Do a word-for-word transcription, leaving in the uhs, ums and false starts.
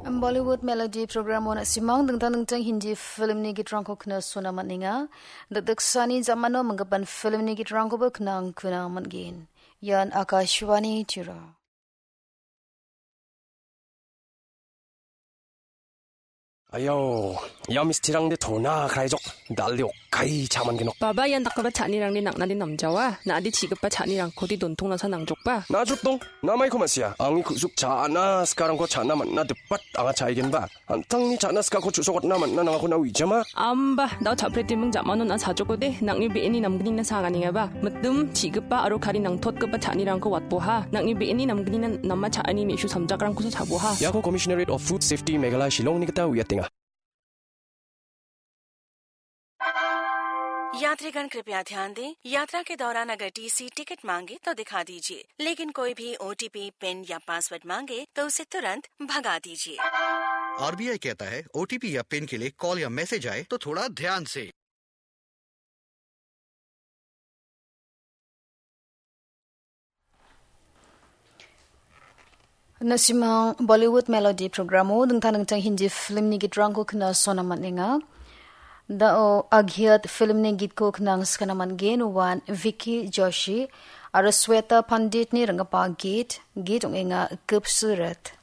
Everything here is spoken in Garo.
Bollywood Melody programo na·simang dingtang dingtang Hindi filmni gitrangko knasona man·enga. Dakdaksani jamano manggipan filmni gitrangkoba knang kuna man·gen. Ian Akashvani Tirupur. Ayau, ia mistirangde tona kraijok, dalde okkai chaman genok. Baba, ian dakgipa cha·anirangde nang·nade namjawa, na·ade chigipa cha·nirangkode dontongnasa nangjokba. Najruk dong, namaiko ma·sia, angni ku·suk cha·na sikarangko cha·na man·na dipat anga cha·aigenba. An·tangni cha·na sikako chu·sokatna man·na nangako na uijama. Amba, dao cha·pretiming jamano na sajokode, nang·ni be·eni namgnina saganengaba. Mitim, chigipa aro kari nangtotgipa cha·anirangko watboha. Nang·ni be·eni namgnina nama cha·ani me·su samjakrangkosa chaboha. Iako Commissionerate of Food Safety Meghalaya Shillongni gita uiatenga. यात्रीगण कृपया ध्यान दें, यात्रा के दौरान अगर TC ticket मांगे तो दिखा दीजिए, लेकिन कोई भी ओटीपी, पिन या पासवर्ड मांगे तो उसे तुरंत भगा दीजिए। आरबीआई कहता है, ओटीपी या पिन के लिए कॉल या मैसेज आए तो थोड़ा ध्यान से। Na·simang Bollywood Melody programo dingtang dingtang Hindi filmni gitrangko knasona man·enga. Dao Agiyat filmni gitko knangskana man·gen, uan Vicky Joshi aro Sweta Panditni ringgipa git, git ong·enga Khubsurat.